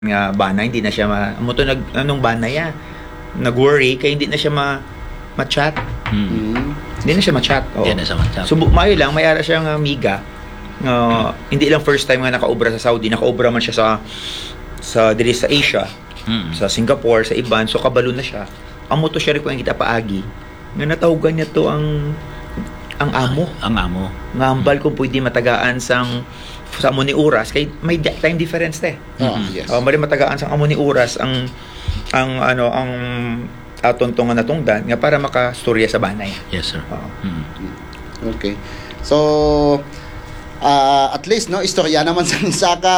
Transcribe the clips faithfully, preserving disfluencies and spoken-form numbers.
nga bana, hindi na siya ma-, amo to nag-, anong bana ya? Nag-worry kay hindi na siya ma-, ma-chat. Hmm. Mm. Hindi na siya ma-chat. Oo. Hindi na siya ma-chat. Subo, maayo lang, may ara siya nga amiga nga hindi lang first time nga nakaobra sa Saudi, nakaobra man siya sa, sa diri sa Asia, Mm. sa Singapore, sa iban, so kabalo na siya. Amo to siya rin kung kita paagi nga natawgan niya to ang, ang amo. Ang amo. Nga hambal kung pwede matagaan sang, sa amo ni oras, kay may di-, time difference te. Ah, Mm. yes. Oh, mali matagaan sang amo ni oras ang, ang, ano, ang aton to nga natungdan nga para makastorya sa banay. Yes, sir. Oo. Mm. Okay. So, ah, at least, no, istorya naman sa isa ka,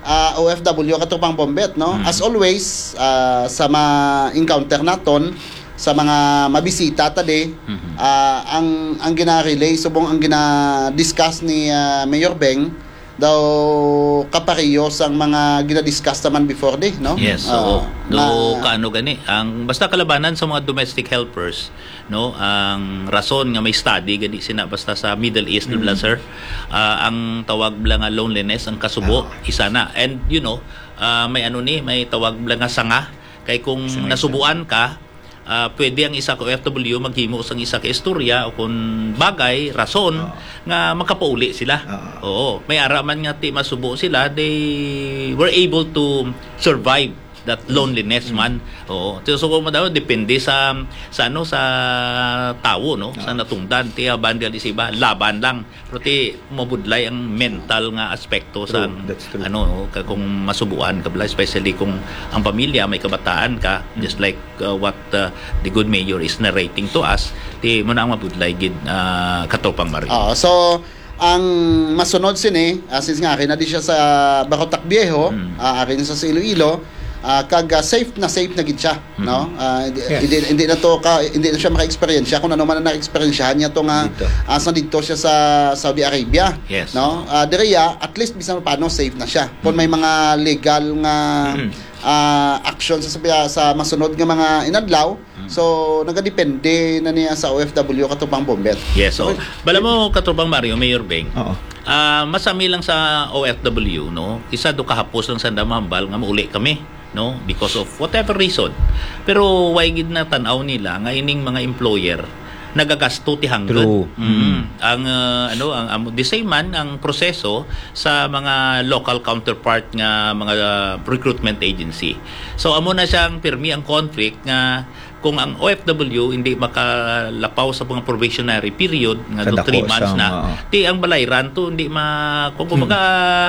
ah, O F W, Katropang Bombet, no? Mm. As always, ah, sa ma-encounter naton, sa mga mabisita ta di, Mhm. ah, ang, ang gina-relay, subong ang gina-discuss ni, ah, Mayor Beng, daw kapareho sang mga gina-discuss naman before di, no? Yes, Ah, oo. Do na kaano gani, ang basta kalabanan sa mga domestic helpers, no, ang rason nga may study gani sina basta sa Middle East, Mm. bla, sir, ah, ang tawag bla nga loneliness, ang kasubo, Ah. isa na. And, you know, ah, may ano ni, may tawag bla nga sanga. Kay kung Sanga, isa. nasubuan ka, ah, pwede ang isa ka O F W maghimo sang isa ka istorya o kung bagay, rason Oo. nga makapauli sila. Oo. Oo. May ara man nga ti masubo sila, they were able to survive that loneliness Mm. man. Oo. So, so, kung madaw, depende sa, sa ano, sa tawo, no? Sa Oo. natungdan. Ti, ah, banda di sa iba, laban lang. Pero ti, mabudlay ang mental nga aspekto True, sa, that's true. ano, no, ka-, kung masubuan ka bala, especially kung ang pamilya may kabataan ka, Mm. just like, uh, what, uh, the good mayor is narrating to us, ti mo na ang mabudlay gid, uh, Katropang Mario. Ah, so, ang masunod sini, ah, since nga ari na di siya sa Barotac Viejo, Mm. ah, ari na sa, sa Iloilo, ah, kag, ah, safe na safe na gid siya, Mm. no? Ah, hindi, Yes. hindi, hindi na to ka, hindi na siya maka-experience kung ano man ang na-experience niya to nga, Dito. ah, sa dito siya sa Saudi Arabia, Yes. no? Ah, diri ya, at least bisan paano safe na siya. Kung may Mm. mga legal nga, Mm. ah, action sa, sa, sa masunod nga mga inadlaw, Mm. so nagadepende na niya sa O F W, Katropang Bombet. Yes, so, Okay. bala mo, Katropang Mario, Mayor Beng, Oo. ah, masami lang sa O F W, no? Isa do kahapos lang sa damambal nga mauli kami, no? Because of whatever reason. Pero why gid na tan-aw nila nga ining mga employer nagagasto ti hangtod? True. Mm. Mm. Ang, ah, ano, ang, ang, the same man ang proseso sa mga local counterpart nga mga, ah, recruitment agency. So, amo na siyang pirmi ang conflict nga kung ang O F W hindi makalapaw sa mga probationary period nga do Kadako three months sang, na, oo. ti ang balayran to hindi ma-, kung kumbaga,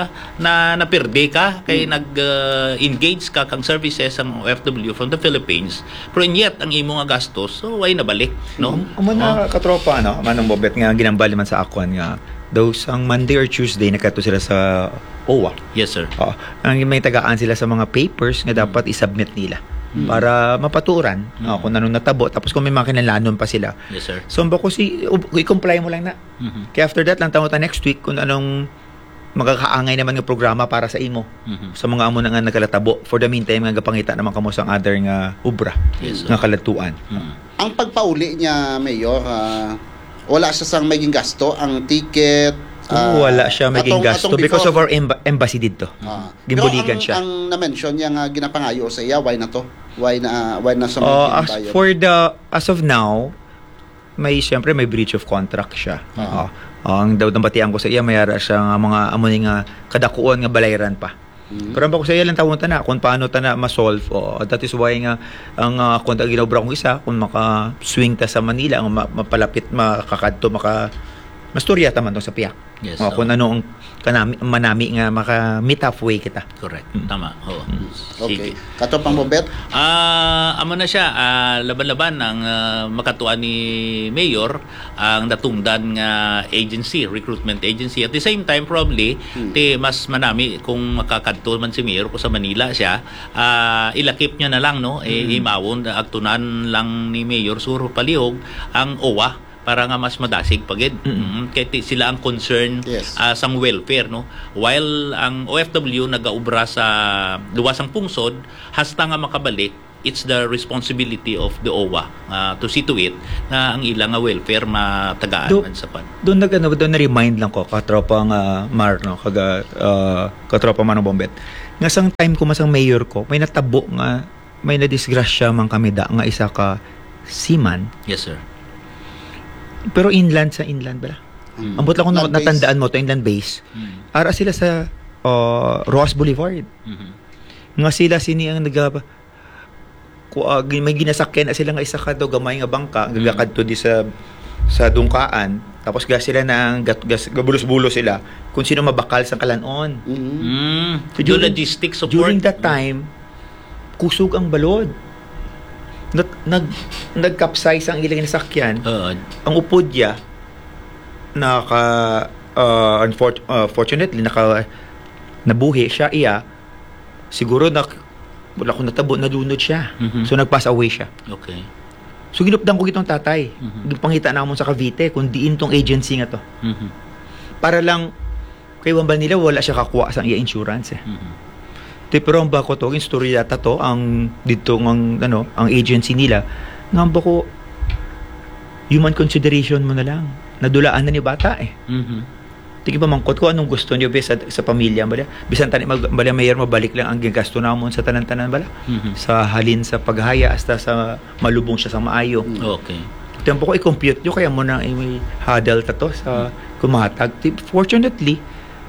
Hmm. na, napirde ka, kay Hmm. nag, ah, engage ka kang services ang O F W from the Philippines, pero and yet, ang imo nga gastos, so, way nabalik, no? Um, amo na, Oh. Katropa, no? Manong Bobet nga ginambal naman sa akon nga daw sang Monday or Tuesday, nagkadto sila sa O W A. Yes, sir. Oo. Ang may tagaan sila sa mga papers nga Mm. dapat i-submit nila Mm. para mapaturan, Mm. ah, kung anong natabo. Tapos kung may mga kinahanglanon pa sila. Yes, sir. So, bako si, u-, i-comply mo lang na. Mhm. Kaya after that, lang tawag ta next week kung anong makakaangay naman nga programa para sa imo. Mhm. Sa mga amo na nga nagkalatabo. For the meantime, nga gapangita naman kamo sang other nga obra Yes, sir. nga kaladtuan. Mhm. Ang pagpauli niya, Mayor, ah, wala siya sang may gingasto, ang ticket, Oo, ah, wala siya may atong, gingasto atong because before. of our emba-, embassy dito. Ah. Ginbuligan Pero ang, siya. ang na-mention niya nga ginapangayo sa iya, why na to? Why na, why na siya may Oh, as ginbayad? for the, as of now, may, siyempre, may breach of contract siya. Ah. Oh. Oh, ang daw nabatian ko sa iya, may ara siya nga mga amo ni nga kadakuan nga balayran pa. Mm. Pero ang bako sa iya lang tawon ta na kung paano ta na ma-solve. Oh, that is why nga ang, ah, kung ang ginobra kong isa, kung maka-swing ta sa Manila, ang ma-, mapalapit, makakadto, maka-, mastorya ta man to sa piyak. Yes, Oh, so kung ano ang kanami, manami nga maka-meet halfway kita. Correct. Mm. Tama. Oo. Mm. Okay. Sige. Katropang Bobet? Ah, amo na siya, ah, laban-laban ang, ah, makatuan ni Mayor ang natungdan nga agency, recruitment agency. At the same time, probably, Hmm. ti mas manami kung makakadto man si Mayor kung sa Manila siya, ah, ilakip niya na lang, no? Eh, Hmm. imawon, agtunan lang ni Mayor Sur Palihog ang O W A para nga mas madasig pa gid. Mm. Mm, kay ti-, sila ang concern, Yes. ah, sang welfare, no? While ang O F W nagaobra sa luwas sang pungsod, hasta nga makabalik, it's the responsibility of the O W A, ah, to see to it nga ang ila nga welfare matagaan Do-, man sa pan. doon nag-, ano, doon na-remind lang ko, katropa nga Mar, no? Kaga, ah, katropa Manong Bombet. Nga sang time ko, masang mayor ko, may natabo nga, may nadisgrasya man kami da, nga isa ka seaman. Yes, sir. Pero inland sa inland bala. Mm. Ambot lang kung Land base. Natandaan mo to, inland base. Mm. Ara sila sa, uh, Roxas Boulevard. Mhm. Nga sila sini ang naga-, ku-, ah, gi-, may ginasakyan na sila nga isa ka daw gamay nga bangka, Mm. gagakadto di sa, sa Dungkaan. Tapos ga sila na ang gat-, gas-, gabulos-bulos sila kung sino mabakal sa kalanon. Mm. Mm. So, Do during, logistic support. During that time, kusog ang balod. Nag-, nag-, nag-capsize ang ilang nasakyan. Oo. Ang upod niya, naka-, ah, unfor-, ah, fortunately, naka-, nabuhi siya, iya. Siguro na, wala ko natabo, nalunod siya. Mhm. So, nag-pass away siya. Okay. So, ginupdan ko gitong tatay. Mhm. Gipangita namon sa Cavite kung diin tong agency nga to. Mhm. Para lang, kay wambal nila, wala siya kakuha sa iya insurance eh. Mhm. Ti, pero ang bako to, ang istorya ta to, ang dito ng, ano, ang agency nila, nga ang bako, human consideration mo na lang. Nadulaan na ni bata eh. Mhm. Tigi pamangkot ko, anong gusto niyo, be, sa, sa pamilya, bala? Bisan tani, mag-, bala, mayor, mabalik lang ang gagasto namon sa tanan-tanan, bala? Mhm. Sa halin sa paghaya hasta sa malubong siya sa maayo. Mm. Okay. Tempo ko, i-compute niyo, kaya mo na i-huddle ta to sa Mm. kumatag. Ti-, fortunately,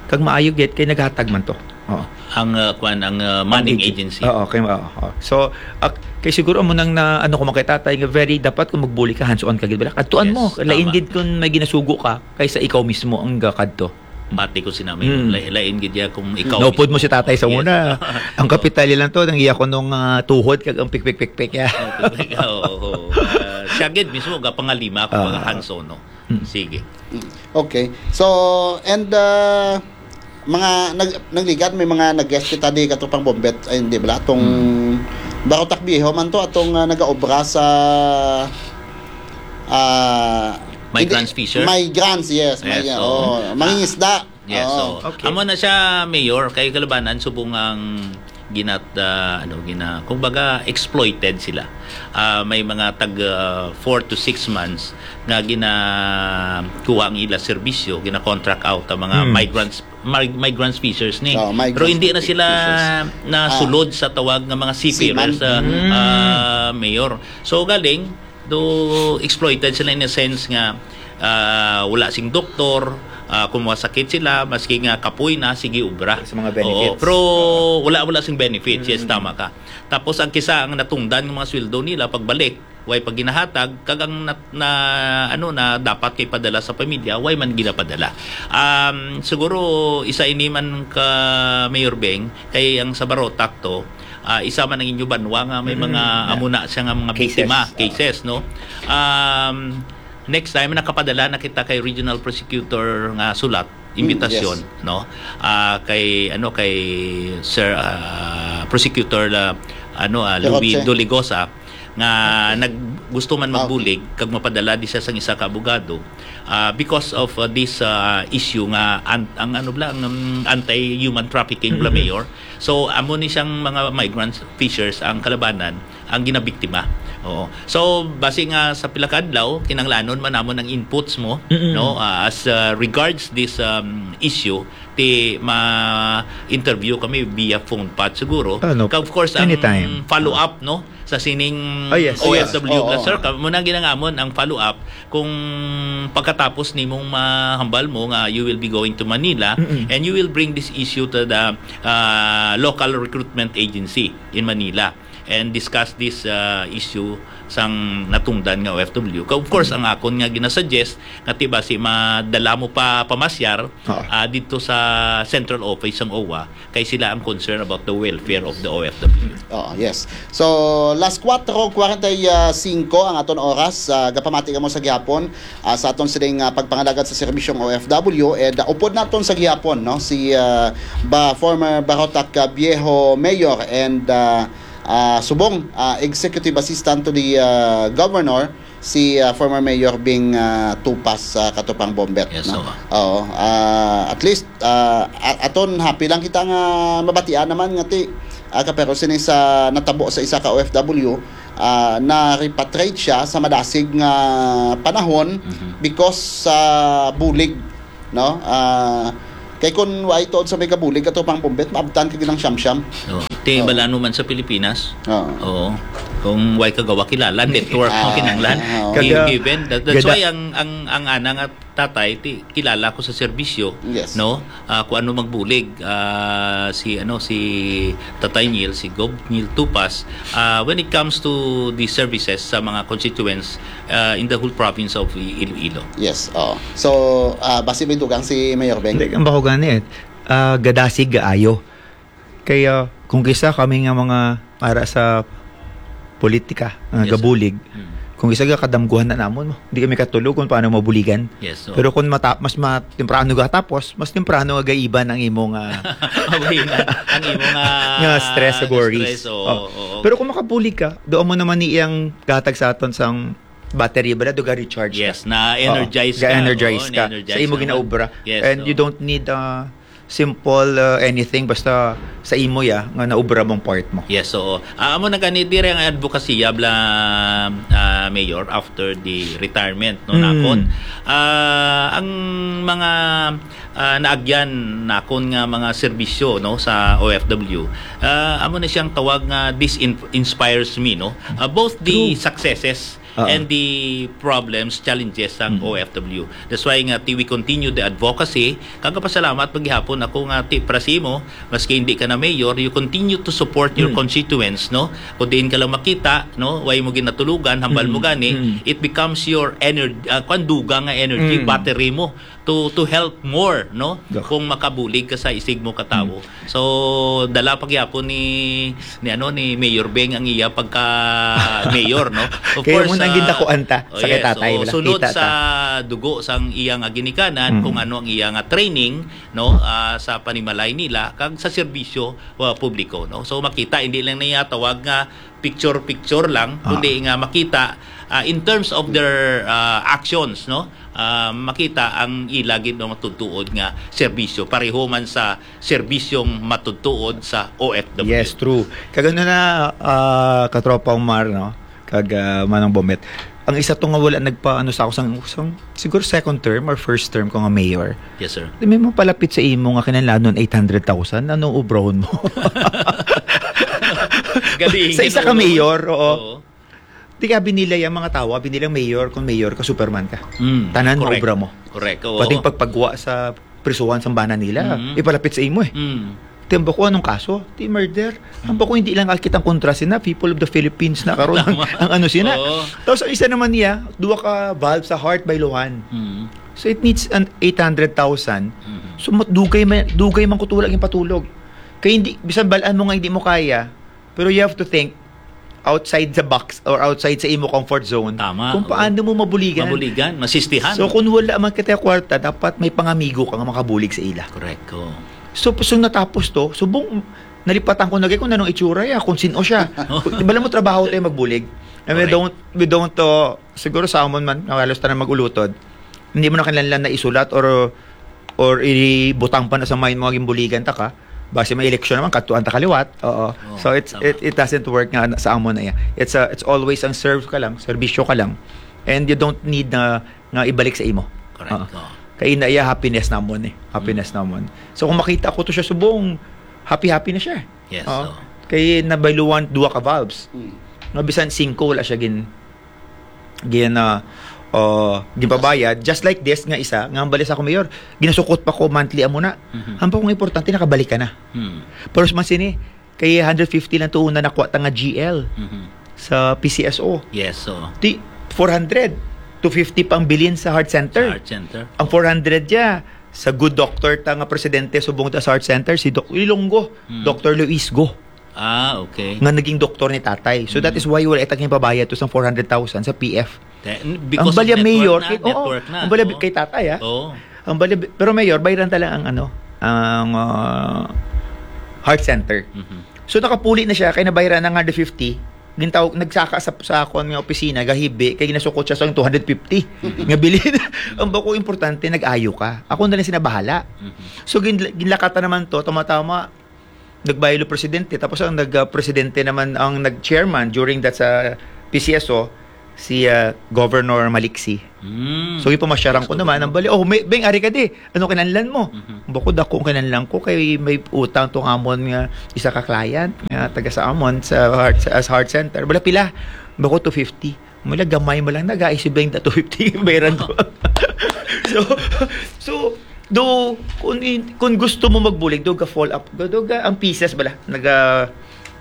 kag maayo gid, kay naghatag man to. Oo. Ang, uh, kwan, ang, uh, manning Ang agen-, agency. Oo, kay, oo, oo. So, ak-, kay siguro mo nang na, ano ko man kay tatay, nga very, dapat kung magbuli ka, hands-on ka gid, bala? Kadtuan Yes, mo, lain tama. gid kung may ginasugo ka, kaysa ikaw mismo ang gakadto. Pati ko sina, may Mm. la-, lain gid ya kung ikaw Naupod mismo. mo si tatay sa Yes. una. Ang kapital lang to, nang iya ko nung, ah, tuhod, kag ang pikpik-pikpik ya. Ang pikpik, oo, oo. Ah, siya gid mismo, gapangalima ko, Ah. mga hands-on, no? Mm. Sige. Mm. Okay. So, and, ah, mga nag-, nagligat, may mga nag-guest kita di, katupang Bombet, ay, hindi bala, atong Mm. Barotac Viejo man to, atong, ah, nagaobra sa, ah, Migrants hindi, Fisher? Migrants, yes. Yes, May, oo. oh, mangingisda. Yes, Oo. so, Okay. amo na siya, Mayor, kay kalabanan, subong ang ginat-, ah, ano, gina-, kumbaga, exploited sila. Ah, may mga tag, ah, four to six months nga ginakuha ang ila serbisyo, gina-contract out ang mga Hmm. migrants, mig-, migrants fishers ni. Oh, migrants Pero hindi na fi-, sila fishers. nasulod Ah. sa tawag nga mga seafarers, Seaman. ah, Hmm. ah, Mayor. So, galing, do exploited sila in a sense nga, ah, wala sing doktor, ah, kung masakit sila, maski nga kapoy na, sige obra. Sa mga Oo, benefits. pero Oo. wala, wala sing benefits. Yes, Mm. tama ka. Tapos ang kisa ang natungdan ng mga sweldo nila pagbalik, way pag ginahatag, kag ang nat-, na, ano, na dapat kay padala sa pamilya, way man ginapadala. Um, siguro isa ini man ka Mayor Beng, kay ang sa Barotac to, ah, isa man ang inyo banwa nga may Mm. mga Yeah. amo na siya nga mga Cases. biktima, Oo. cases, no? Um, next time, nakapadala na kita kay Regional Prosecutor nga sulat, Mm, imbitasyon, yes. no? Ah, kay, ano, kay Sir, ah, Prosecutor la, ano, ah, Louis Peroche. Doligosa, nga Okay. nag-, gusto man Ah, okay. magbulig, kag mapadala di siya sang isa ka abogado, ah, because of, ah, this, ah, issue nga an-, ang ano bala, ang, um, anti-human trafficking bala, Mm-hmm. Mayor. So, amo ni siyang mga migrant fishers ang kalabanan, ang ginabiktima. Oo. So, basi nga sa pila ka adlaw, kinahanglanon man namon ang inputs mo, Mm-mm. no? Ah, as, ah, regards this, um, issue, ti ma-interview kami via phone pat siguro. Ah, no. Kag of course, ang Anytime. follow-up, no? Sa sining Oh, yes. O F W Yes. Oo. bala, sir. Ka-, muna ginangamon ang follow-up kung pagkatapos nimong mahambal mo nga you will be going to Manila Mm-mm. and you will bring this issue to the, ah, local recruitment agency in Manila and discuss this, ah, issue sang natungdan nga O F W. Ka-, of course, Mm. ang akon nga ginasuggest nga ti basi madala mo pa pamasyar, Oo. ah, dito sa central office sang O W A, kay sila ang concern about the welfare of the O F W. Oo, yes. So, las kuwatro kwarenta y singko ang aton oras. Ah, gapamati kamo sa gihapon, ah, sa aton sining, ah, pagpangalagad sa serbisyong O F W. And, ah, upod naton sa gihapon, no, si, ah, ba, former Barotac, ah, Viejo Mayor and, ah, ah, subong, ah, Executive Assistant to the, ah, Governor, si, ah, former Mayor Bing, ah, Tupas, ah, Katupang Bombet, Yes, no? oo. Oo, ah, at least, ah, a-, aton happy lang kita nga mabatian naman nga ti, ah, kapero sini sa natabo sa isa ka O F W, ah, na-repatriate siya sa madasig nga panahon Mhm. because sa bulig, no? Ah, Kay kun way tuod sa may kabulig, ato pang pumbet, maabtan ka ginang siyam-siyam. Oh. Ti, oh, bala mo man sa Pilipinas. Oo. Oo. Kung way kagawa kilala, network ang kinahanglan. Oo. Gi-, given. That, that's why ang, ang, ang ana nga tatay, ti, kilala ko sa serbisyo, yes, no? Ah, kung ano magbulig, ah, si, ano, si Tatay Neil, si Gob Neil Tupas, ah, when it comes to the services sa mga constituents, ah, in the whole province of I-, Iloilo. Yes, oo. So, ah, basi may dugang si Mayor Beng? Hindi, ang bako gani, eh, ah, gadasig gaayo. Kaya, kung kisa kami nga mga ara sa politika, nga gabulig, kung kisa ga kadamguhan na namon mo, di kami katulog kung paano mabuligan. Yes, oo. Pero kung mata-, mas ma-, temprano ga tapos, mas temprano nga gaiban ang imong, ah, mabuhinan, ang imong, ah, nga stress, nga worries. Stress, oo, oo. Pero kung makabulig ka, doon mo naman ni iyang gatag sa aton sang battery, bala, do ga-recharge ka. Yes, na-energize ka. Oo, ga-energize ka sa imo ginaobra. Yes, and you don't need, ah, simple, uh, anything, basta sa imo ya nga naubra mong part mo. Yes, oo. Ah, amo na gani dire ang advokasya bala, ah, Mayor, after the retirement, no, nakon. Ah, ang mga, ah, naagyan nakon nga mga serbisyo, no, sa O F W, ah, amo na siyang tawag nga this in-, inspires me, no. Ah, both the successes and the problems, challenges sang O F W. That's why nga ti-, we continue the advocacy. Kag pasalamat pa gihapon ako nga ti-, para sa imo, maski hindi ka na mayor, you continue to support your constituents, no? Kung diin ka lang makita, no, way mo ginatulugan, hambal mo gani, it becomes your ener-, ah, kwan, dugang nga energy, battery mo to, to help more, no? Kung makabulig ka sa isig mo ka tawo. So, dala pa gyapon ni, ni, ano, ni Mayor Beng ang iya pagka mayor, no? Of course, ang gindakuan ta sa kay tatay, wala sunod kita sa dugo sang iya nga ginikanan, kung ano ang iya nga training, no, ah, sa panimalay nila kag sa serbisyo, ah, publiko, no? So, makita, hindi lang niya tawag nga picture-picture lang, kundi nga makita, ah, in terms of their, ah, actions, no? Ah, makita ang ila gid nga matutuod nga serbisyo, pareho man sa serbisyong matutuod sa O F W. Yes, true. Kag ano na, ah, Katropa Omar, no? Kag, ah, Manong Bomet, ang isa to nga wala nagpa-, ano, sa ako sang, sang, siguro second term or first term ko nga mayor. Yes, sir. Di may mapalapit sa imo nga kinahanglanon eight hundred thousand, ano ubrahon mo? Sa isa ka mayor, oo. Oo. Di ka, abi nila yang mga tawo, abi nilang mayor, kung mayor ka, Superman ka. Mm, tanan correct. Maubra mo. Correct, oo. Pati yung pagpagwa sa prisuhan sa bana nila, mm, ipalapit sa imo eh. Mm. Di, ambako, anong kaso? Di murder. Ambako, hindi lang akit ang kontra sina, people of the Philippines na karon ang, tama, ang ano sina. Oo. Tapos ang isa naman niya, duha ka valve sa heart by Luhan. Mm. So it needs an eight hundred thousand. Mm. So mat-, dugay man, dugay man ko tulog yung patulog. Kaya hindi, bisan balaan mo nga hindi mo kaya, pero you have to think outside the box or outside sa imo comfort zone. Tama, kung oo. Paano mo mabuligan. Mabuligan, masistihan. So, kung wala man kita kwarta, dapat may pangamigo ka nga makabulig sa ila. Correct, oo. So, so natapos to, subong nalipatan ko na kay kung anong itsura ya, kung sino siya. Bala mo trabaho tayo magbulig. And we, correct, don't, we don't, uh, siguro sa amon man, nga halos tanan mag-ulutod, hindi mo na kinahanglan na isulat or, or ibutang pa na sa mind mo nga ginbuligan ta ka. Basi may eleksyon naman, kadtuan ta kaliwat. Oo. Oh, so it's, tama, it, it doesn't work nga sa amon na iya. It's a, it's always ang serve ka lang, serbisyo ka lang. And you don't need na nga ibalik sa imo. Correct. Oo. Oh. Kay na iya happiness namon eh. Happiness, mm, namon. So kung makita ko to siya subong, happy-happy na siya. Yes, oo. Oh. Kay nabayluan duha ka valves. Mm. Nga bisan singko wala siya gin gina, uh, ginpabayad, just like this nga isa, nga ang bali sa ako, Mayor, ginasukot pa ko monthly amo na. Mhm. Ang pa kung importante, nakabalik ka na. Hmm. Pero sa man sini, kay hundred fifty lang to una nakuha ta nga G L, mhm, sa P C S O. Yes, so. Di, four hundred to fifty pang bilin sa heart center. Sa heart center. Ang four hundred ya, sa good doctor ta nga presidente subong ta sa heart center, si Doc Ilonggo, hmm, Doctor Luis Go. Ah, okay. Nga naging doktor ni tatay. So, that, mm, is why wala itang pabayad to sang four hundred thousand sa P F. Te-, n-, because of network na, kay, oo, network na, ang balya, oo, kay tatay, ah. Oo. Ang balya, pero Mayor, bayran ta lang ang, ano, ang, ah, heart center. Mhm. So, nakapuli na siya, kay nabayran na nga the fifty. Gintawag, nagsaka sa, sa akon nga opisina, gahibi, kay ginasukot siya sa two hundred fifty. Mhm. Nga bilin. Ang bako importante, nag-ayo ka. Ako na lang sinabahala. Mhm. So, gin-, ginlakatan naman to, tama-tama, nagbaylo presidente, tapos ang nag-, ah, presidente naman ang nag-chairman during that sa P C S O, si ah, Governor Maliksi. Mm. So, ipamasyaran ko naman ang bali. Oh, may, may ari ka di. Ano kinahanglan mo? Mhm. Bako dako ang kinahanglan ko kay may utang tong amon nga isa ka client nga taga sa amon sa heart, as heart center. Bala pila? Bako two fifty. Mula gamay mo lang, nagaisip lang ta two fifty bayaran ko. So, so, do, kung, in- kung gusto mo magbulig, do ka fall up, do, do ka, ang pieces bala, naga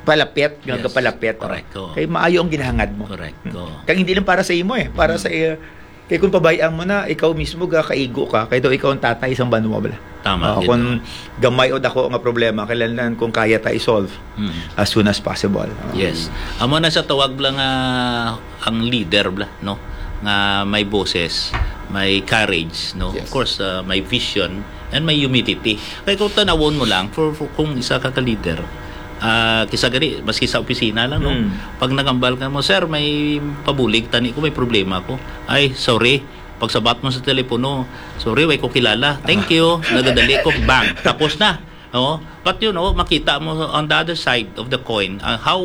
palapit, Yes. Nagapalapit, oh. Correct, oh. Kay maayo ang ginahangad mo. Correct, Hmm. oh. Kag hindi lang para sa imo eh, para Hmm. sa iya. Kay kung pabayaan mo na, ikaw mismo ga kaigo ka, kay daw ikaw ang tatay isang banwa bala. Tama, Oh, gid, kung oh. gamay o dako nga problema, kailangan kung kaya ta i-solve Hmm. as soon as possible. Oh. Yes. Amo na sa tawag lang nga ang leader bla, no? Nga may boses, may courage, no? Yes. Of course, uh, may vision and may humility. Kay kung tanawon mo lang, for, for kung isa ka ka-leader, ah, kisa gani, maski sa opisina lang, no? Mm. Pag nagambal ka mo, "Sir, may pabulig tani ko, may problema ko." "Ay, sorry." Pagsabat mo sa telepono, "Sorry, way ko kilala." "Thank you." Nagadali ko, bang, tapos na. No? But you know, makita mo on the other side of the coin, ah, how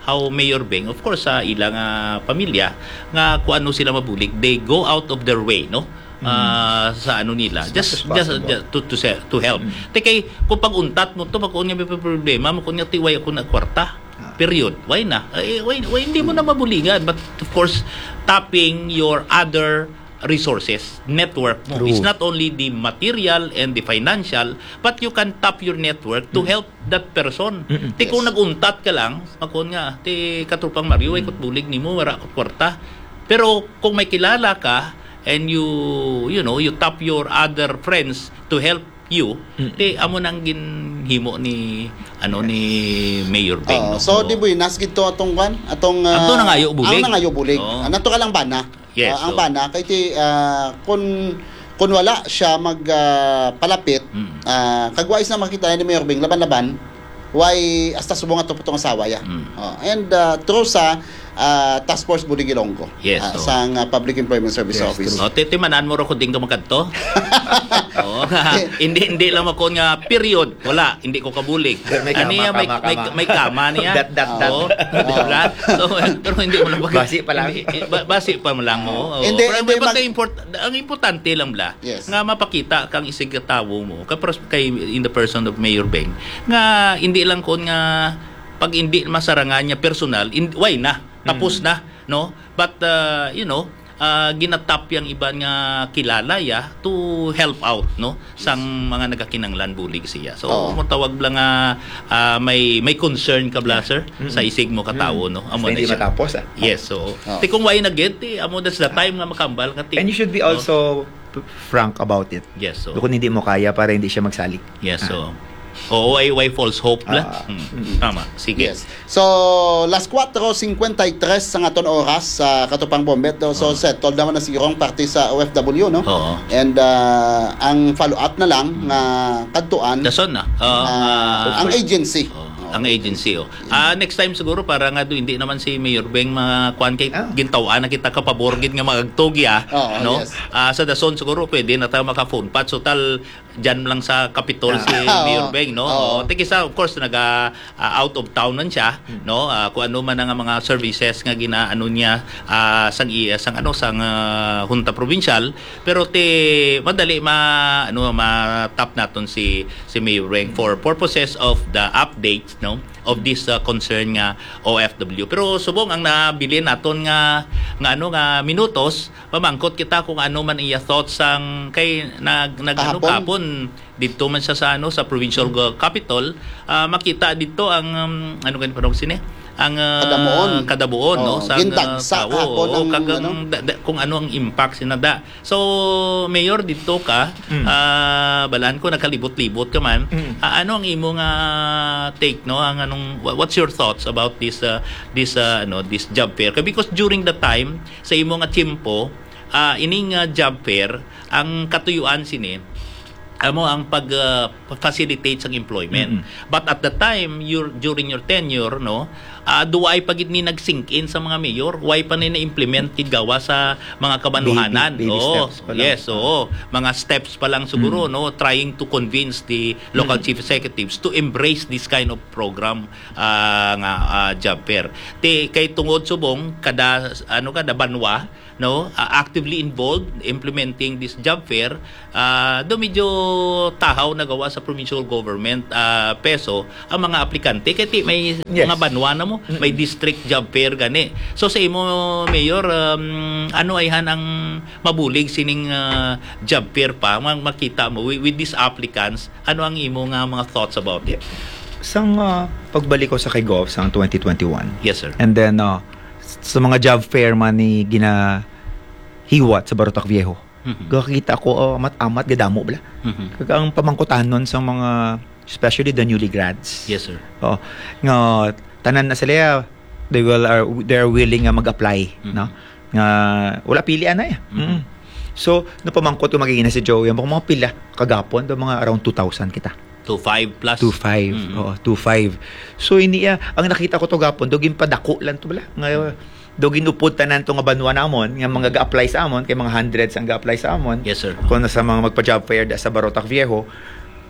how Mayor Beng, of course, sa ilang ah, pamilya, nga kung ano sila mabulig, they go out of their way, no? Mm. Ah, sa ano nila, As just much as just possible. just to to se- to help. Mm. Te kay kung pag-untat mo to, pag nga may problema mo, kung nga tiway ako na kwarta. Ah. Period. Why na? Eh, why, why hindi mo na mabulingan? But of course, tapping your other resources, network mo. True. It's not only the material and the financial, but you can tap your network to Mm. help that person. Mm-mm. Ti kung Yes. nag-untat ka lang, makon nga, ti katropang Mario, ay Mm. kut bulig nimo, wala ko kwarta. Pero kung may kilala ka, and you, you know, you tap your other friends to help you, Mm. ti amo nang ginhimo ni, ano, Yes. ni Mayor Beng, Oh, no? so, Oo. di buenas gid to atong kwan, atong, Ato ah, nangayo bulig. ang nangayo bulig. Oo. Ah, nato ka lang bana. Yes, Ah, ang so bana, kay ti, ah, kun, kun wala siya mag, ah, palapit, Mm. ah, kag wais na makita ni Mayor Beng, laban-laban, why hasta subong ato pa tong asawa ya. Mm. Oh, and, ah, through sa, ah, Task Force Bulig Ilonggo, Yes, ah, so sang, ah, Public Employment Service Yes, Office. true. O, titimanan mo ro ko din ka magkadto? Oo. Hindi, hindi lang ako nga period. Wala, hindi ko kabulig. Pero may Ano kama, niya, may, kama, may, kama. may kama niya. Dot, dot, dot. Oo. Diba? So, pero hindi mo lang pag- Basi pa lang. Hindi, ba- basi pa mo lang mo. Oo. Hindi, Pero hindi but mag- the import-, ang importante lang bla, Yes. nga mapakita kang isig tawo mo, ka pers-, kay, in the person of Mayor Beng, nga hindi lang kon nga pag hindi masarangan niya personal, in, why na? Tapos Mm. na, no? But, uh, you know, uh, ginatap yang iban nga kilala ya to help out, no? Sang mga nagakinanglan bulig siya. So, Oo. mo tawag lang nga, ah, may, may concern ka bla, Yeah. sir, Mm-mm. sa isig mo katawo, Mm. no? Amo Basta na hindi siya. matapos, ah. Yes, so, Oo. ti kung why na gid, ti, amo, that's the time nga makambal ka, ti. And you should be No? also p-, frank about it. Yes, so. Kung hindi mo kaya para hindi siya magsalik. Yes, Ah. so. Oo, why, why false hope, bla? Ah. Hmm, tama. Sige. Yes. So, las cuatro cincuenta y tres sa aton oras sa Katupang Bombet, no? So, Oo. settled naman na siguro ang parte sa O F W, no? Oo. And, ah, ang follow-up na lang Mm. nga kadtuan, Dason na. Oo, ah, ah, ang agency. Oo, ang agency, oh. Ah, next time siguro para nga do, hindi naman si Mayor Beng makuan kay Ah. gintaw-an na kita kapabor gid nga magagtog ya, Oo, no? yes. Ah, sa dason siguro pwede na tayo maka-phone patch. So, tal, dyan lang sa Kapitol Ah. si Oo. Mayor Beng, no? Oo. Oo. Ti kisa, of course, naga, ah, out of town man siya, Hmm. no? Ah, kung ano man ang mga services nga ginaano niya, ah, sang i-, sang ano, sang, ah, Junta Provincial, pero ti madali ma-, ano, ma-tap naton si, si Mayor Beng for purposes of the update, no? Of this, ah, concern nga O F W. Pero subong ang nabilin naton nga, nga ano, nga minutos, mamangkot kita kung ano man iya thoughts sang kay nag, nag, ano, Kahapon. kahapon, didto man siya sa, ano, sa provincial Mm. go-, capitol, ah, makita didto ang, um, ano gani parang sini? Ang, ah, Kadamuon. kadamuon, no? Oo, Sa, gindagsa ah, tawo, kahapon oo, ang, kag ang ano? da-, da-, kung ano ang impact sina da. So, Mayor, didto ka, Mm. ah, balaan ko, nagkalibot-libot ka man. Mm. Ah, ano ang imo nga take, no? Ang anong, wha-, what's your thoughts about this, ah, this, ah, ano, this job fair? Kay because during the time, sa imo nga tiyempo, ah, ining, ah, job fair, ang katuyuan sini, amo ang pag, ah, facilitate sang employment. Mm-mm. But at the time, your, during your tenure, no, ah, do ay pa gid ni nag-sink in sa mga mayor, way pa ni na-implement gid gawa sa mga kabanuhanan. Baby, baby Oo, steps pa lang. yes, Ah. oo. Mga steps pa lang siguro, Mm. no, trying to convince the local Mm. chief executives to embrace this kind of program, ah, nga, ah, job fair. Ti, kay tungod subong kada, ano, kada banwa, no, ah, actively involved implementing this job fair, ah, do medyo tahaw na gawa sa provincial government, ah, peso ang mga aplikante kay ti may Yes. mga banwa na mo, Mm. may district job fair gani. So sa imo, Mayor, um, ano ayhan ang mabulig sining, ah, job fair pa? Ang makita mo with, with these applicants, ano ang imo nga mga thoughts about it? Sang, ah, pagbalik ko sa kay Gov sang twenty twenty-one. Yes, sir. And then, ah, sa mga job fair man ni ginahiwat sa Barotac Viejo, Mhm. gakita ko, ah, amat-amat gadamo bala. Mhm. Kag ang pamangkutanon sa mga, especially the newly grads. Yes, sir. Oh, nga tanan na sila, they will, are, they are willing nga mag-apply, Mhm. no? Nga wala pili anay. Mhm. Mm. So, napamangkot ko magiging na si Joey, ang mga pila kagapon, do mga around two thousand kita. Two five plus. Two five. Mhm. Oo, two five. So, ini, ah, ang nakita ko to gapon, do ginpadako lang to bala. Nga, do ginupod tanan to nga banwa namon, nga mga ga-apply sa amon, kay mga hundreds ang ga-apply sa amon. Yes, sir. Kung sa mga magpa-job fair da sa Barotac Viejo.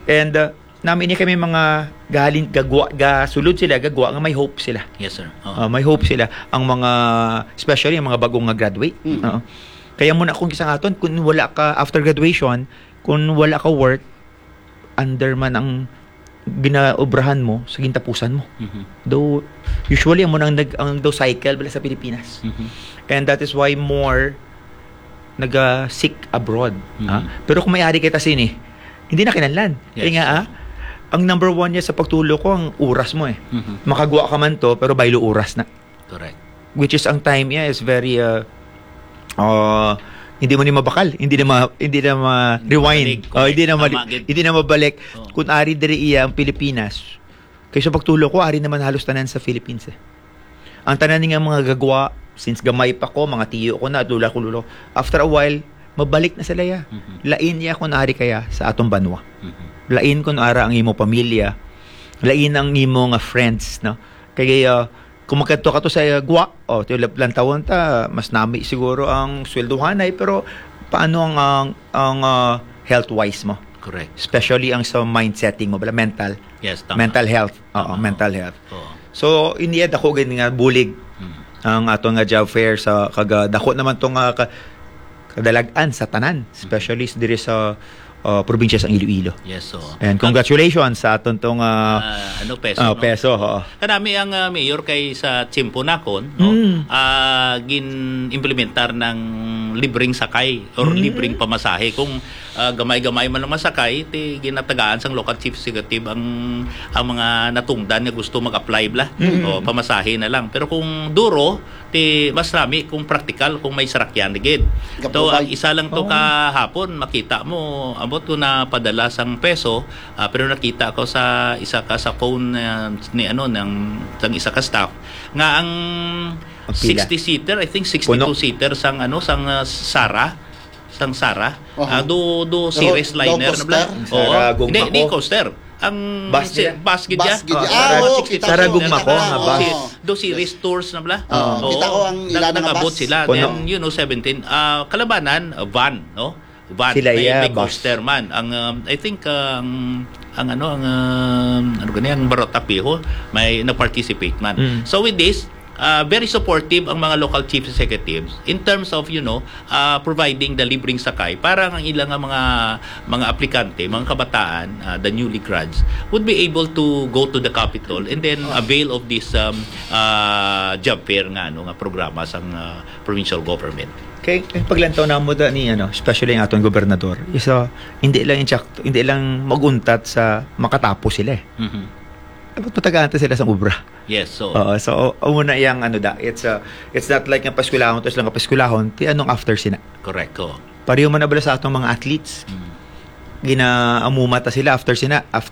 And, uh, nami ni kami mga galing gagwa, gasulod sila, gagwa nga may hope sila. Yes, sir. Oo. Uh, may hope sila. Ang mga, especially ang mga bagong nga graduate. Mm. Oo. Kaya muna kung isa nga aton, kung wala ka, after graduation, kung wala ka work, under man ang ginaobrahan mo sa gintapusan mo. Mhm. Though, usually, amo nang nag-, ang daw cycle bala sa Pilipinas. Mhm. And that is why more naga-seek abroad. Mhm. Ha? Pero kung may ari kita sini, hindi na kinahanglan. Kaya Yes. nga, ah, ang number one niya sa pagtulo ko, ang oras mo eh. Mhm. Makagwa ka man to, pero baylo oras na. Correct. Which is, ang time niya is very, uh, uh, hindi mo ni mabakal, hindi na ma-, hindi na ma-rewind. Balik, Oh, hindi na correct. mali-, Tama gid. hindi na mabalik. Oh. Kung ari diri iya ang Pilipinas, kay sa pagtulo ko, ari naman halos tanan sa Philippines eh. Ang tanan nga mga gagwa, since gamay pa ko, mga tiyo ko na, lula ko, lolo, after a while, mabalik na sila ya. Mhm. Lain iya kung ari kaya sa atong banwa. Mhm. Lain kung ara ang imo pamilya, lain ang imo nga friends, no? Kay, uh, kung magkadto ka to sa gwa, oh, to lantawon ta, mas nami siguro ang sweldohanay, pero paano ang, ang, ang, ah, health-wise mo? Correct. Especially ang sa mind setting mo, bala, mental. Yes, tama. Mental health. Oo, Tama. mental health. Oo. So, in the end, ako gid nga bulig Mm. ang ato nga job fair sa kaga-, dako naman to nga ka-, kadalag-an sa tanan, especially s-, diri sa, uh, probinsya sa Iloilo. Yes, so. And congratulations sa aton tong, uh, Ah, ano, peso, uh, no? peso, oo. Kanami ang, uh, mayor kay sa tiyempo nakon, no? Mm. Ah, gin-implementar ng libreng sakay or Mm. libreng pamasahe. Kung, ah, gamay-gamay man ang masakay, ti ginatagaan sang local chief executive ang, ang mga natungdan nga gusto mag-apply bala. Mm. O, pamasahe na lang. Pero kung duro, ti mas rami kung praktikal, kung may sarakyan gid. To, Gapubay. ang isa lang to Oh. kahapon, makita mo, abot ko na padala sang peso, ah, pero nakita ko sa isa ka, sa phone, ah, ni ano, ng, ng isa ka staff, nga ang Ang pila? sixty-seater, I think Puno? sixty-two seater sang ano, sang, ah, Sara, sang Sara. Aha. Ah, do, do Ro-, series do liner na bala. coaster? Oo. Sara Hindi, Gugma di ko. coaster. Ang Bus si-, nila? bus gid Bus ya. gid Oh, ya. Sara Ah, oo, Gugma. kita Sara ko, Gugma kita ko, ko. nga bus. Oo. Si-, do series tours na bala. Oo, Oo. kita ko ang Nag-, ila na nga nag-abot bus. sila. Puno. Then, you know, seventeen. Ah, kalabanan, ah, van, no? Van. Sila May, iya, may bus. coaster man. Ang, um, I think, ang, ang ano, ang, um, ano gani, ang Barotac Viejo, may na-participate man. Mm. So with this, ah, very supportive ang mga local chief executives in terms of, you know, ah, providing the libreng sakay para ang ilang nga mga, mga aplikante, mga kabataan, ah, the newly grads, would be able to go to the capital and then avail of this, um, ah, job fair nga, ano, nga programa sang, ah, provincial government. Kay, kay paglantaw namo da ni, ano, especially ang aton gobernador, isa, hindi lang insakto, hindi lang mag-untat sa makatapos sila eh. Mhm. Dapat matagaan ta sila sa obra. Yes, so Oo, so, amo na yang ano da, it's, uh, it's not like nga paeskwelahon, tapos lang nga paeskwelahon, ti anong after sina? Correct, oo. Pareho man na bala sa atong mga athletes. Mm. Ginaamuma ta sila after sina, af-,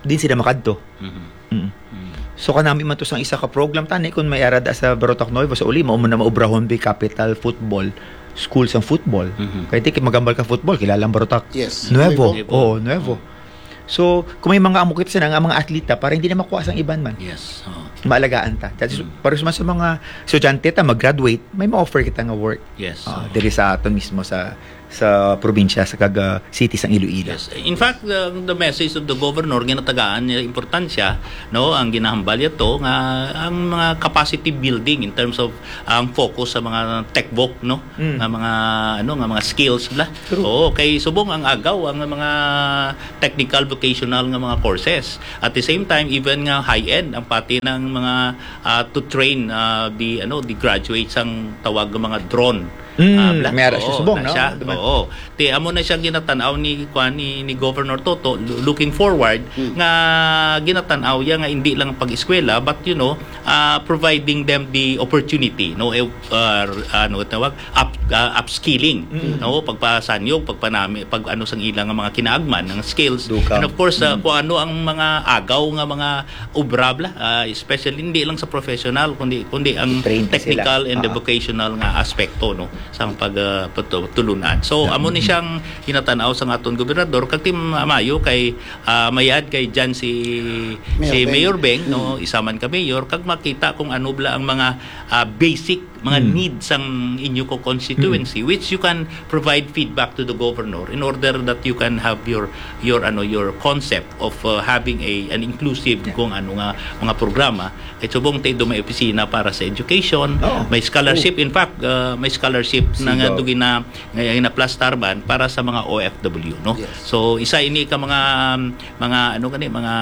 din sila makadto. Mhm. Mm. Mm. So, kanami man to sang isa ka program, tani, kung may ara da sa Barotac Nuevo, sa uli, mao man na maubrahon bi capital football. school sang football. Mhm. Kay di kay magambal ka football, kilala ang barutak. Yes. Nuevo. Nuevo. Oo, nuevo. So, kung may mga amo kita sila, nga mga atleta, para hindi na makuha sang iban man. Yes. Oo. Maalagaan ta. That is, Mm. para sa, sa mga estudyante ta, mag-graduate, may ma-offer kita nga work. Yes. Ah, Oo. diri sa aton mismo sa, sa probinsya, sa kag, ah, city sang Iloilo. Yes. In fact, the, the message of the governor, ginatagaan niya importansya, no, ang ginahambal niya to, nga ang mga capacity building in terms of ang focus sa mga techvoc, no, Mm. nga mga, ano, nga mga skills bla. True. Oo, kay subong ang agaw ang mga technical vocational nga mga courses. At the same time, even nga high-end ang pati ng mga, ah, to train, ah, the, ano, the graduates ang tawag ng mga drone. Mm, Ah, bla. may ara siya Oo, subong, na no? siya. Diba? Oo. Ti amo na siya ginatan-aw ni, kuan, ni, ni Governor Toto, lo-, looking forward, Mm. nga ginatan-aw ya nga hindi lang pag-eskwela, but, you know, ah, providing them the opportunity, no? Eh, ah, r-, ano tawag? Up-, ah, upskilling, Mm. no? Pagpasanyog, pagpanami, pag ano sang ilang mga kinaagman, ng skills. Dugang. And of course, ah, Mm. kung ano ang mga agaw nga mga obra bla, ah, especially hindi lang sa professional, kundi, kundi ang Trained sila. technical and the Ah. vocational nga aspekto, no? Sang pag, ah, patu-, tulunan. So, Yeah. amo ni Mm. siyang ginatan-aw sang aton gobernador, kag ti maayo kay, ah, mayad kay dyan si, Mayor si Beng. Mayor Beng, no? Mm. Isa man ka mayor, kag makita kung ano bla ang mga, ah, basic, mga Mm. needs sang inyo ko constituency, Mm. which you can provide feedback to the governor in order that you can have your, your, ano, your concept of, uh, having a, an inclusive Yeah. kung ano nga mga programa. Kay subong tay do may opisina para sa education, Oo. may scholarship. Oo. In fact, uh, may scholarship na nga Sigaw. do gina-, nga ginaplastar man para sa mga O F W, no? Yes. So, isa ini ka mga, mga, ano gani, mga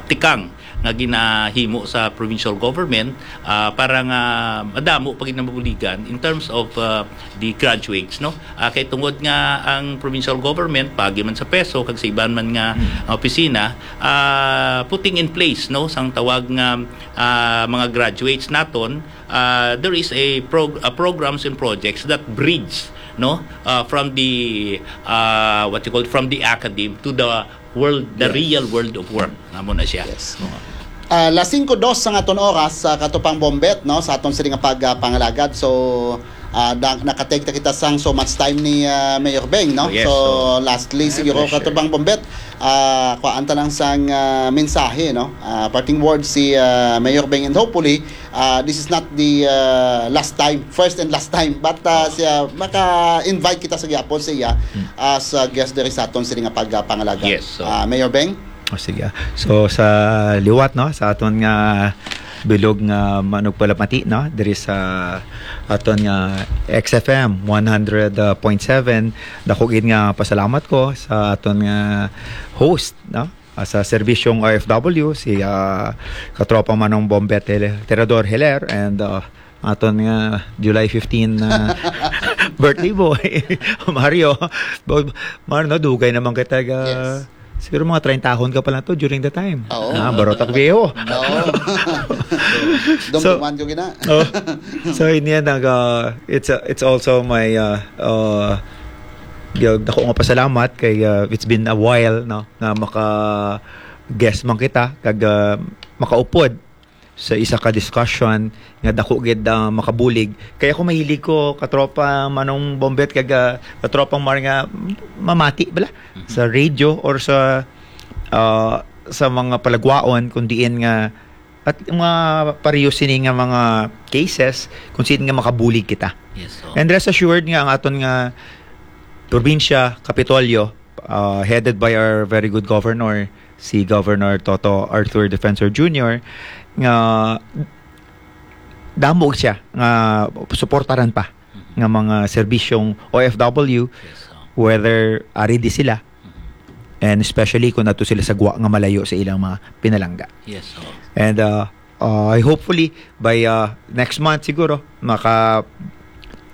tikang nga ginahimo sa provincial government, ah, para nga madamo pa gid ang mabuligan in terms of, ah, the graduates, no? Ah, kay tungod nga ang provincial government, paagi man sa PESO kag sa iban man nga Hmm. opisina, ah, putting in place, no, sang tawag nga, ah, mga graduates naton, ah, there is a prog-, a programs and projects that bridge, no, ah, from the, ah, what you call, from the academe to the world, the Yes. real world of work. Amo na siya. Yes. Oo. Ah, las singko dos sang aton oras sa Katropang Bombet, no, sa aton sini nga pag, ah, pangalagad. So, ah, da-, nakatake ta kita sang so much time ni, ah, Mayor Beng, no? Yes, So, so, lastly, my siguro, pleasure. Katropang Bombet, ah, kuhaan ta lang sang, ah, mensahe, no? Ah, parting words si, ah, Mayor Beng, and hopefully, ah, this is not the, ah, last time, first and last time, but, ah, siya, maka-invite kita sa gihapon siya Hmm. as, ah, guest diri sa aton sini nga pag, ah, pangalagad. Yes, so Ah, Mayor Beng? O, sige. So, sa liwat, no, sa aton nga bilog nga manugpalamati, no, diri sa aton nga X F M one hundred point seven, dako gid nga pasalamat ko sa aton nga host, no, ah, sa serbisyong O F W, si, ah, Katropang Manong Bombet Hel-, Tirador Hiler, and, ah, aton nga July fifteen na birthday boy, Mario. Bo-, Mar, no, dugay naman kita ga, Yes. siguro mga treinta ahon ka pa lang to during the time. Oo. Ah, barot ako viejo. Oo. So, Dumduman ko gina. Oh. So, in the end, nag, uh, it's, uh, it's also my, uh, uh, dako nga pasalamat kay, uh, it's been a while, no, nga maka-guest man kita, kag, uh, makaupod sa isa ka discussion nga dako gid, ah, makabulig. Kaya ako mahilig ko, Katropa Manong Bombet, kag, ah, Katropang Mar, nga mamati bala Mhm. sa radio or sa, ah, sa mga palagwaon, kung diin nga, at mga pareho sini nga mga cases, kung saan nga makabulig kita. Yes, so. And rest assured nga ang aton nga probinsya, Kapitolyo, uh, headed by our very good governor, si Governor Toto Arthur Defensor Junior, nga damo siya nga suportaran pa Mhm. nga mga serbisyong O F W, Yes, so. whether ari di sila, Mhm. and especially kung ato sila sa gwa nga malayo sa ilang mga pinalangga. Yes, so. And, uh, uh, hopefully, by, uh, next month siguro, maka,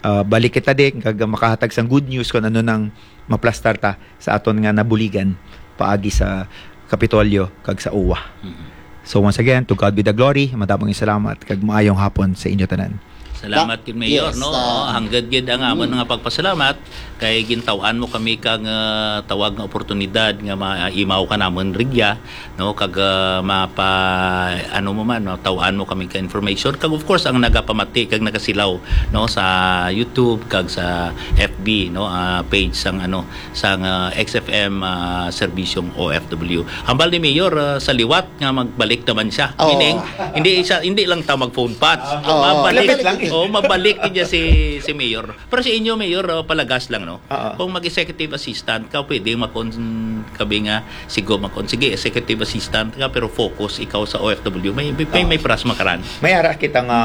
uh, balik kita din, kag makahatag sang good news kung ano nang maplastar ta sa aton nga nabuligan paagi sa Kapitolyo kag sa uwa. Mhm. So once again, to God be the glory, madamong salamat, kag maayong hapon sa inyo tanan. Salamat gid, Mayor, Yes, no? ah, Oo, hanggat gid ang amon mm. nga pagpasalamat kay gintaw-an mo kami kang, ah, tawag nga oportunidad nga maimaw ka namon rigya, no? Kag, ah, mapa-, ano mo man, no? Taw-an mo kami ka information. Kag of course, ang nagapamati kag nagasilaw, no? Sa YouTube kag sa F B, no? Ah, page sang, ano, sang, ah, X F M, ah, Serbisyong O F W. Hambal ni Mayor, ah, sa liwat nga magbalik naman siya. Oo. Meaning, hindi siya, hindi lang ta mag-phone patch. Oo. Mabalik, Lapit lang. Oh, mabalik niya si, si Mayor. Pero sa inyo, Mayor, oh, palagas lang, no? Oo. Kung mag-executive assistant ka, pwede makon-, kabi nga, sigo makon-, sige, executive assistant ka, pero focus ikaw sa O F W. May, may, may, Oo. may pras makaran. May ara kita nga,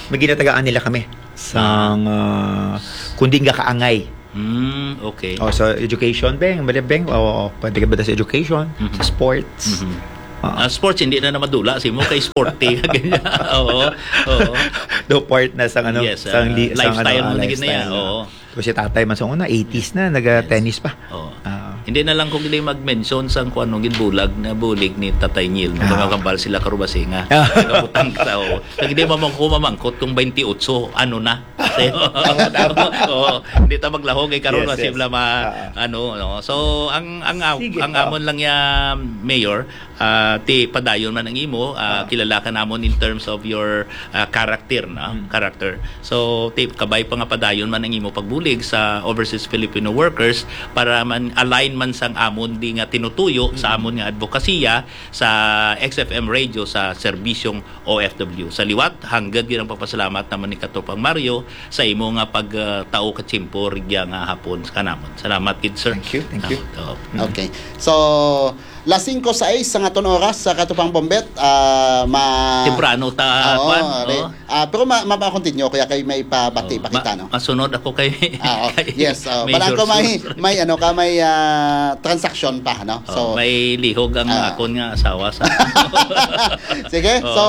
may ginatagaan nila kami. Sang, ah, kundi nga kaangay. Hmm, okay. O, sa education, beng, bali, beng, o, pwede ka ba sa education, Mhm. sa sports? Mhm. Ah. Ah, sports, hindi na na madula si mo kay sporty. Ganyan. Oo, oo. Do part na sang ano, Yes, sang ah, li-, sang ano, lifestyle ah, mo na gid na yan, lifestyle na. Oo. Tapos si tatay man sa una, eighties na, naga-tennis pa. Oo. Ah. Hindi na lang kung hindi mag-mention sang kung anong ginbulag na bulig ni Tatay Neil. Ah. Mga kambal sila karubasinga. Ah. Nagabutang sa, oo. Kag hindi mamang-, ko mamangkot kung twenty-eight, ano na? Tama, tama. Oo, hindi ta maglahog kay karon Yes, masib yes. la ma-, Ah, ah. ano, no? So, ang, ang, Sige, ang ah. amon lang ya, Mayor, ah, ti padayon man ang imo, ah, Ah. kilala ka namon in terms of your, ah, character, no? Mm. Character. So, ti kabay pa nga padayon man ang imo pagbulig sa overseas Filipino workers para man align man sang amon di nga tinutuyo sa Mm. amon nga advokasya sa X F M Radio sa serbisyong O F W. Sa liwat, hanggat gid ang pagpasalamat naman ni Katropang Mario sa imo nga pag, ah, tao ka tiyempo rigya nga hapon sa kanamon. Salamat gid, sir. Thank you, thank you. Salamat, oo. Mm. Okay. So, las singko sais sa aton oras sa Katropang Bombet, ah, ma- Temprano ta, Oo, kwan, re-, oo. ah, pero ma-, ma-, ma-continue, kaya kay may pabati Oo, pa kita, ma-, no? masunod ako kay, Ah, oh, kay yes, oh. Mayor Balang ko may, Sur. may, ano ka, may, ah, transaksyon pa, no? Oh, So, may lihog ang ah. akon nga asawa sa Sige, Oh. so,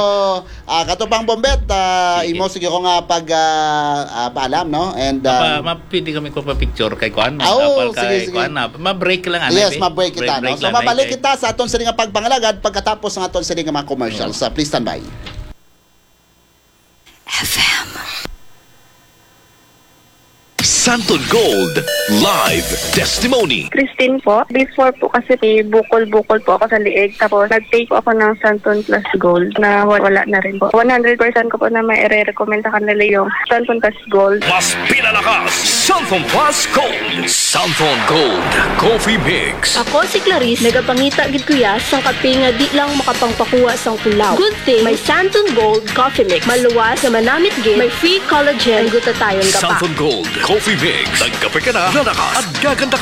ah, Katropang Bombet, ah, Sige. imo siguro nga pag, ah, ah, paalam, no? And, Mapa-, um, ma-, pwede kami ko pa-picture kay kuan, Ah, oo, mapal sige, kay sige. kuan na. Ma-break lang, ano, Yes, eh? ma-break kita, Break, no? break So, lang, mabalik eh. kita sa aton sini nga pagpangalagad pagkatapos ng aton sini nga mga commercials. Oo. So, please stand by. F M. Santon Gold Live Testimony. Christine po. Before po kasi may bukol-bukol po ako sa liig. Tapos nag-take po ako ng Santon Plus Gold na wa-, wala na rin po. One hundred percent ko po na may ire-recommend sa kanila yung Santon Plus Gold. Mas pinalakas, Santon Plus Gold. Santon Gold Coffee Mix. Ako si Clarice, nagapangita gid kuya sang kape nga di lang makapangpakuha sang kulaw. Good thing may Santon Gold Coffee Mix. Maluwas nga manamit gid, may free collagen, ang gutatayon ka pa. Santon Gold Coffee Mix. Nagkape ka na, lalakas at gaganda ka.